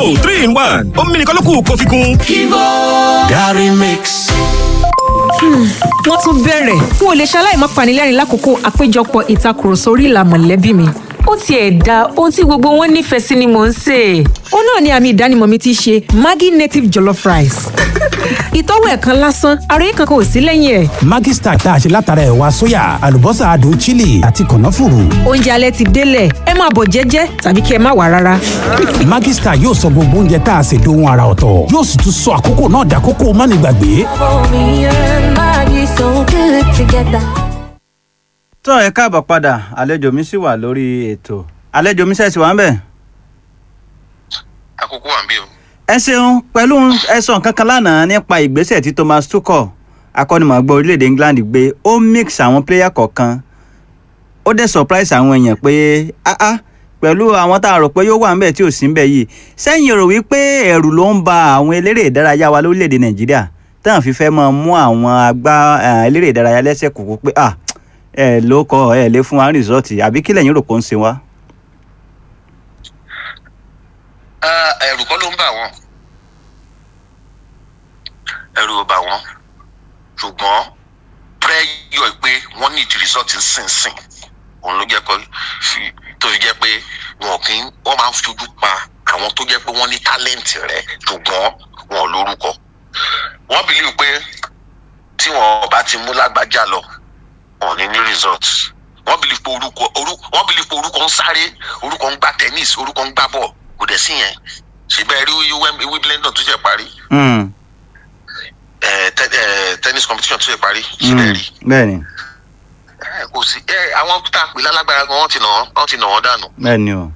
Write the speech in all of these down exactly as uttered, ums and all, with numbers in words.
Kivo three in one, omi nìkan ló kù kó fi kún. Kivo Garri Mix. Wọ́n tún bẹ̀rẹ̀. N ò lè ṣaláì má panilẹ́rìn lákòókò àpéjọpọ̀ ìtakùrọ̀sọ orí ìlà mọ̀lẹ́bí mi. Ó tiẹ̀ da ohun tí gbogbo wọn nífẹ̀ẹ́ sí ni mò ń sè. Ó náà ni àmì ìdánimọ̀ mi ti ṣe Maggi native jollof rice. Ìtọ́wò ẹ̀ kan lásán, ara yìí kankan ò sí lẹ́yìn ẹ̀. Maggi Star tá a ṣe látara ẹ̀wà sóyà, àlùbọ́sà adùn chili àti kànáfùrù. Oúnjẹ alẹ́ ti délẹ̀, ẹ máa bọ̀ jẹ́jẹ́ tàbí kí ẹ má wà rárá. Maggi Star yóò sọ gbogbo oúnjẹ tá a ṣe dohun ara ọ̀tọ̀, yóò sì tún sọ àkókò náà dàkókò mánigbàgbé. Tó ẹ káàbọ̀ padà, àlejò mi sì wà lórí ètò. Àlejò mi ṣẹ̀ṣì wà ń bẹ̀. Àkókò wà ń bí o. Ẹ ṣeun. Pẹ̀lú ẹ̀sán kankan lánàá nípa ìgbésẹ̀ tí Thomas Tuchel, akọ́nimọ̀ọ́gbá orílẹ̀-èdè England, gbé, ó mix àwọn player kọ̀ọ̀kan, ó dẹ̀ surprise àwọn èèyàn pé ah ah, pẹ̀lú àwọn tá a rò pé yóò wà ń bẹ̀ tí ò sí ń bẹ̀ yìí. Sẹ́yìn rò wípé ẹ̀rù ló ń ba àwọn eléré ìdárayá wa lórílẹ̀-èdè Nàìjíríà táwọn fi fẹ́ máa mú àwọn agbá eléré ìdárayá lẹ́sẹ̀ kúkú pé ah, ẹ ló kọ ẹ lè fún wa result, àbí kí lẹ̀yin rò pé ó ń ṣe wá? Ẹ̀rù kọ́ ló ń bà wọ́n, ẹ̀rù ò bà wọ́n, ṣùgbọ́n pressure pé wọ́n need result sínsìn òun ló jẹ́ kó tó fi jẹ́ pé wọn kì í, wọ́n máa ń fojú pa àwọn tó jẹ́ pé wọ́n ní talent rẹ̀ ṣùgbọ́n wọn ò lórúkọ. Wọ́n believe pé tí wọn bá ti mú lágbájá lọ, wọn ní ní result. Wọ́n believe pé orúkọ orúkọ wọ́n believe pé orúkọ ń sáré, orúkọ ń gbá tennis, orúkọ ń gbá bọ́ọ̀, kò dẹ̀ sí yẹn. Ṣùgbọ́n ẹ rí Wimbledon tó ṣe parí, tennis competition tó ṣe parí, ṣe rí? Bẹ́ẹ̀ni. Kò sí àwọn tá a pè lálágbára gan, wọ́n ti nà wọ́n wọ́n ti nà wọ́n dànù. Bẹ́ẹ̀ni o.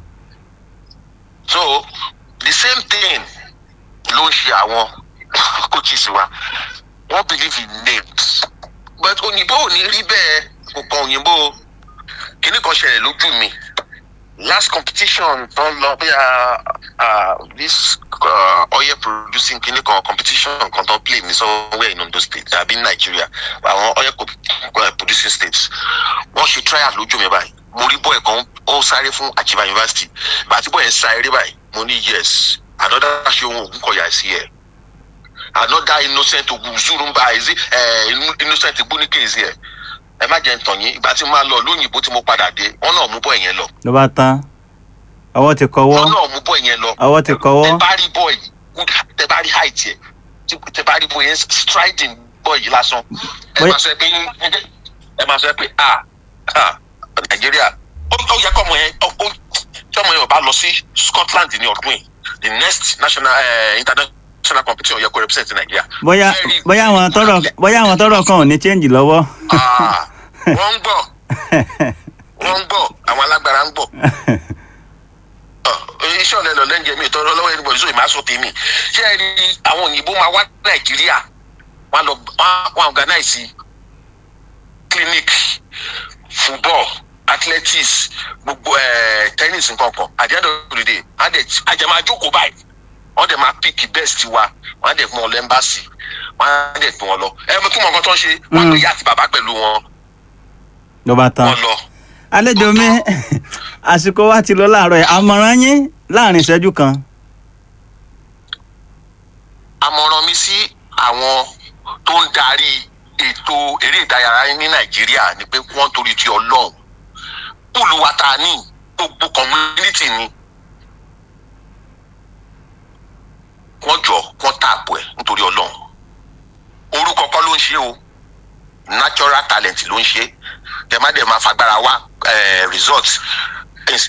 So the same thing ló ń ṣe àwọn coaches wa. Wọ́n believe in names, but òyìnbó ò ní rí bẹ́ẹ̀, kò kan òyìnbó. Kíní kan ṣẹlẹ̀ lójú mi last competition tó ń lọ bí this uh, oil producing kíní kan competition kan tó ń play ní somewhere in Ondo State àbí ní Nigeria, àwọn oil producing states. Wọ́n ṣe trial lójú mi báyìí. Mo rí boy kan, ó sáré fún Achieva University. Bàtí boy yẹn sá eré báyìí, mo ní, "Yes, another Ṣeun Ògúnkọ̀yà is here, another Innocent Ogunzurumba is uh, Innocent Egbunike is here." Ẹ má jẹ́ ń tàn yín, ìgbà tí mo máa lọ lóyìnbó, tí mo padà dé, wọ́n náà mú boy yẹn lọ. Ló bá tán, ọwọ́ ti kọwọ́. Wọ́n náà mú boy yẹn lọ. Ọwọ́ ti kọwọ́. Tẹ bá rí boy, tẹ bá rí height yẹ, tẹ bá rí boy yẹn, striding boy yìí lásán, ẹ máa sọ pé ẹ máa sọ pé ah ah, Nàìjíríà, ó yẹ kọ́ ọmọ yẹn, tí ọmọ yẹn ò bá lọ sí Scotland ní ọdún yìí, the next national uh, international competition, yẹ kó represent Nàìjíríà. Bóyá bóyá àwọn tọrọ bóyá àwọn tọrọ kan ò ní change lọ́wọ́. Wọ́n ń gbọ́, wọ́n ń gbọ́, àwọn alágbára ń gbọ́. Iṣẹ́ ọ̀lẹ́ lọ lẹ́ǹjẹ̀ mi ìtọ́jú lọ́wọ́ ẹni bọ̀dé sóyè máa sọ tèmi. Ṣé ẹ rí àwọn òyìnbó máa wá Nàìjíríà, wọ́n lọ wọ́n organize clinic, football, athletics, gbogbo tennis, nǹkan kan. At the end of the day, àjẹ máa jókòó báyìí, wọ́n dẹ̀ máa pick best wa, wọ́n á dẹ̀ fún wọn lọ embassy, wọ́n á dẹ̀ fún wọn lọ. Ẹ mọ̀ kí wọn kan tó ń ṣe, wọ́n á pè yá àti bàbá pẹ̀lú wọn. Ló bá tán. Wọ́n lọ. Àlejò mi, àsìkò wa ti lọ láàárọ̀ yìí. Àmọ̀ràn yín láàrin ìṣẹ́jú kan. Àmọ̀ràn mi sí àwọn tó ń darí ètò eré ìdárayá ní Nàìjíríà ni pé wọ́n torí ti Ọlọ́run, pool wa ta ní gbogbo community ni, wọ́n jọ wọ́n tap ẹ̀ nítorí Ọlọ́run. Orúkọ kọ́ ló ń ṣe o, natural talent ló ń ṣe. Kẹ má dẹ̀ máa fagbára wá result.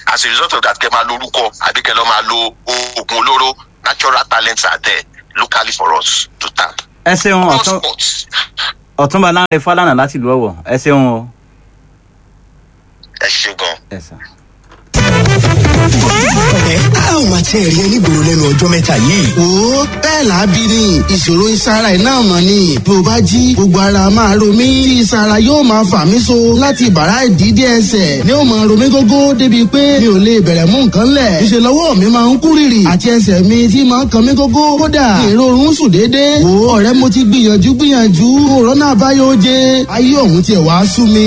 As a result of that, kẹ máa lo orúkọ àbí kẹ lọ máa lo oògùn olóró. Natural talents are there locally for us to tap. Ẹ ṣeun, ọ̀tún Ọ̀túnba Lánrẹ Fálànà láti ìlú Ọ̀wọ̀, ẹ ṣeun o. Ẹ ṣe gan. Ẹ sàn. Ọ̀rẹ́, a ò máa tiẹ̀ rí ẹ nígboro lẹ́nu ọjọ́ mẹ́ta yìí. Wo, bẹ́ẹ̀. Bẹ́ẹ̀ làábí ni ìṣòro ìsara iná mọ̀ ni bí o bá jí gbogbo ara máa ro mí tí ìsara yóò máa fà mí so láti bàrá ìdídé ẹsẹ̀ ni ó máa ro mí gógó débi pé mi ò lè bẹ̀rẹ̀ mú nǹkan lẹ̀ ìṣe lọ́wọ́ mi máa ń kú rìrì àti ẹsẹ̀ mi tí máa ń kan mí gógó kódà ìrorun sùn déédéé. Wo ọ̀rẹ́, mo ti gbìyànjú gbìyànjú, òrọ́nà àbáyọ oje, ayé òun tiẹ̀ wá sú mi.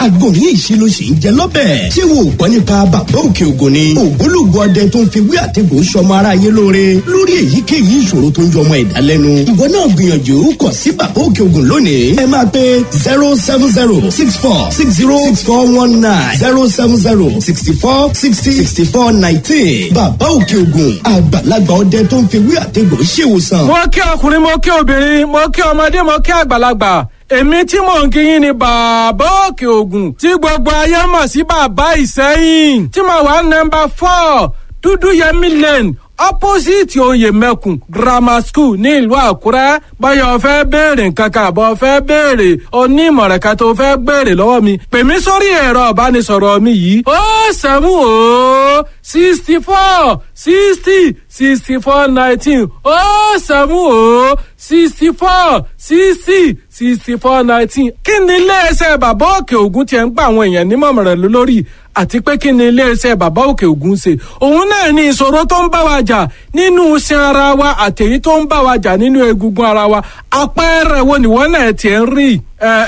Àgbo ní ìṣe ló sì ń jẹ lọ́bẹ̀. Ṣé wo ò gbọ́ nípa Bàbá Òkè Ògùn ni? Ògbólógbò ọdẹ tó ń fi wí àtẹ̀gùn sọmọ aráyé lóore lórí èyíkéyìí ìṣòro tó ń jọ ọmọ ẹ̀dá lẹ́nu. Ìwọ náà gbìyànjú kàn sí Bàbá Òkè Ògùn lónìí. Ẹ máa pe zero seven zero six four six zero six four one nine, zero seven zero sixty four sixty sixty four nineteen. Bàbá Òkè Ògùn, àgbàlagbà ọdẹ tó ń fi wí àtẹ̀gùn ṣèwòsàn. Mo kí ọkùnrin, mo kí obìnrin, mo kí ọmọdé, mo kí àgbàlagbà. Èmi tí mò ń kíyìn ni Bàbá Òkè Ògùn tí gbogbo ayé mọ̀ sí Bàbá Ìsẹ́yìn, tí mo wà nọ́mbà four, Dúdú Yẹmí Lane, opposite Oyè Mẹ́kùn Grammar School ní ìlú Àkúrẹ́. Báyọ̀ fẹ́ béèrè nǹkan kan àbọ̀ fẹ́ béèrè onímọ̀ràn kan tó fẹ́ béèrè lọ́wọ́ mi, pè mí sórí ẹ̀rọ ìbánisọ̀rọ̀ mi yìí: ó seven ó sixty four sixty sixty four nineteen, ó seven ó sixty four sixty sixty four nineteen. Kí ni iléeṣẹ́ Bàbá Òkè Ògùn tiẹ̀ ń gba àwọn èèyàn nímọ̀ràn lórí, àti pé kí ni iléeṣẹ́ Bàbá Òkè Ògùn ṣe? Òun náà ní ìṣòro tó ń bá wa jà nínú iṣan ara wa àtèyí tó ń bá wa jà nínú egungun ara wa. Àpẹẹrẹ wo nìwọ náà tiẹ̀ ń rí?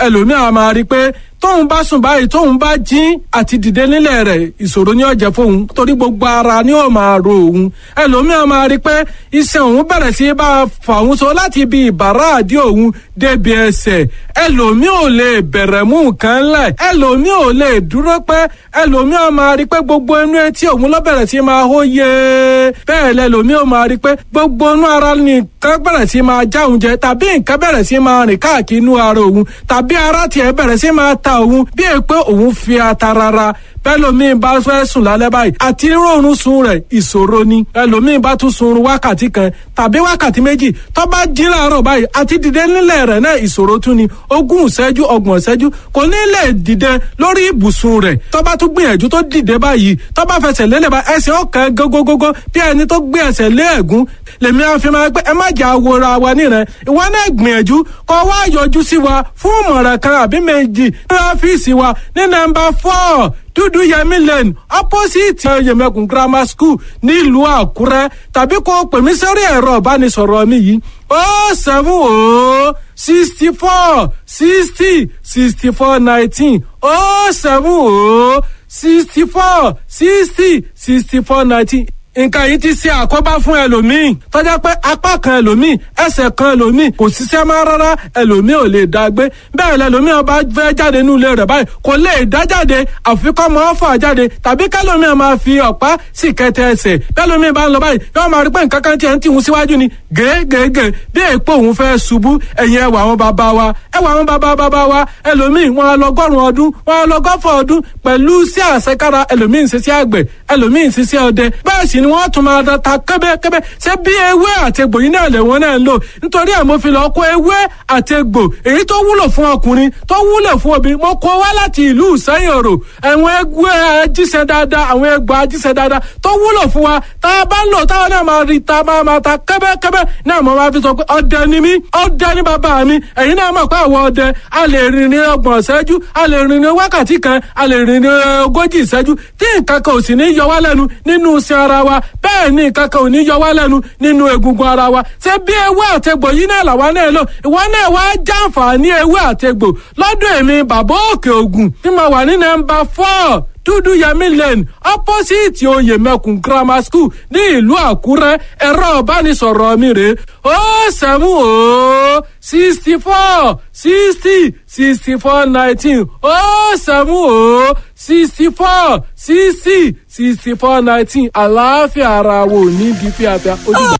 Ẹlòmíràn máa rí i pé tóun bá sùn báyìí, tóun bá jí, àti dìde nílẹ̀ rẹ̀ ìṣòro ní ó jẹ́ fóun, torí gbogbo ara ni ó máa ro òun. Ẹlòmíràn máa rí i pé iṣan òun bẹ̀rẹ̀ sí bá a fà òun so láti ibi ìbàrá àdí òun débi ẹsẹ̀. Ẹlòmíì ò lè bẹ̀rẹ̀ mú nǹkan lẹ̀, ẹlòmíì ò lè dúró pẹ́. Ẹlòmíì máa rí i pé gbogbo inú etí òun ló bẹ̀rẹ̀ sí máa hó yé. Bẹ́ẹ̀ lẹlòmíì ò máa rí i pé gbogbo inú ara nìkan bẹ̀rẹ̀ sí máa já òun jẹ, tàbí nǹkan bẹ̀rẹ̀ sí máa rìn káàkiri inú ara òun, tàbí ara tiẹ̀ bẹ̀rẹ̀ sí máa ta òun bí è pé òun fi ata rárá. Bẹ́lòmíì bá fẹ́ sùn lálẹ́ báyìí, àti rọrùn sun rẹ̀ ìṣòro ni. Ẹlòmíì bá tún sun wákàtí kan tàbí wákàtí méjì, tó bá jí láàárọ̀ báyìí, àti dìde nílẹ̀ rẹ̀ náà ìṣòro tún ni. Ogún ìṣẹ́jú, ọgbọ̀n ìṣẹ́jú, kò ní lè dìde lórí ibùsùn rẹ̀. Tó bá tún gbìyànjú tó dìde báyìí, tó bá fẹsẹ̀ lélẹ̀ bá, ẹsẹ̀ ọ̀kan gógógógó bí ẹni tó gbé ẹsẹ̀ lé ẹ̀gún. Lèmi á fi máa pé ẹ má jà wora wa nírẹ̀. Ìwọ náà gbìyànjú kó wá yọjú sí wa fún ìmọ̀ràn kan àbí méjì ní ọ́fíìsì wa ní nọ́mbà four, Dúdú Yẹmí Lane, opposite Yẹmẹkùn Grammar School nílùú Àkúrẹ́, tàbí kó pè mí sórí ẹ̀rọ ìbánisọ̀rọ̀ mi yìí: ó seven ó sixty four sixty sixty four nineteen, ó seven ó sixty four sixty sixty four nineteen. Nǹkan yìí ti ṣe àkóbá fún ẹlòmíì tọ́já pé apá kan ẹlòmíì, ẹsẹ̀ kan ẹlòmíì kò ṣiṣẹ́ mọ́ rárá, ẹlòmíì ò lè dá gbé bẹ́ẹ̀. Lẹlòmíì ọba fẹ́ jáde nínú ilé rẹ̀ báyìí, kò lè dá jáde, àfi kọ́ mọ́ fà jáde, tàbí kẹlòmíì máa fi ọ̀pá sì kẹtẹ ẹsẹ̀. Bẹ́lòmíì bá ń lọ báyìí, yóò máa rí pé nǹkan kan tiẹ̀ ń tìhun síwájú ni gègègè bí èèpo òun fẹ́ ṣubú. Ẹ̀yìn ẹwà àwọn bàbá wa, ẹwà àwọn bàbá bàbá wa, ẹlòmíì wọn lọgọ́rùn ọdún, wọn lọgọ́fọ̀ ọdún pẹ̀lú sí àṣekára. Ẹlòmíì ń ṣiṣẹ́ àgbẹ̀, ẹlòmíì ń ṣiṣẹ́ ọdẹ, bẹ́ẹ̀ sì ni wọ́n tún máa da ta kẹ́bẹ́kẹ́bẹ́. Ṣé bí ewé àti egbò yìí náà lè wọ́n náà ń lò? Nítorí ẹ̀ mo fi lọ kó ewé àti egbò èyí tó wúlò fún ọkùnrin, tó wúlò fún obìnrin, mo kó wá láti ìlú Ìsẹ́yìn Òrò. Àwọn egbò ajíṣẹ́ dáadáa, àwọn egbò ajíṣẹ́ dáadáa tó wúlò fún wa, tá a bá ń lò táwọn náà máa rí ta máa máa ta kẹ́bẹ́kẹ́bẹ́ náà. Mo máa fi sọ pé ọdẹ ni mí, ọdẹ ni bàbá mi. Ẹ̀yin náà mọ̀ pé àwọn ọdẹ a lè rìn ní ọgbọ̀n ìṣẹ́jú, a lè rìn ní wákàtí kan, a lè rìn ní ogójì ìṣẹ́jú, tí nǹkan kan ò sì ní yọ wá lẹ́nu nínú iṣan ara wa. Bẹ́ẹ̀ ni nǹkan kan ò ní yọ wá lẹ́nu nínú egungun ara wa. Ṣé bí ewé àtegbò yìí náà làwa náà lò? Ìwọ náà wá jàǹfààní ewé àtegbò lọ́dọ̀ èmi Bàbá Òkè Ògùn tí mo wà ní nọ́mbà four, Dúdú Yẹmí Lane, opposite Oyè Mẹkùn Grammar School ní ìlú Àkúrẹ́. Ẹ̀rọ ìbánisọ̀rọ̀ mi rèé: ó seven ó sixty four sixty sixty four nineteen, ó seven ó sixty four sixty sixty four nineteen. Àlàáfíà ara wo ní bí fíafíà ó dìgbà.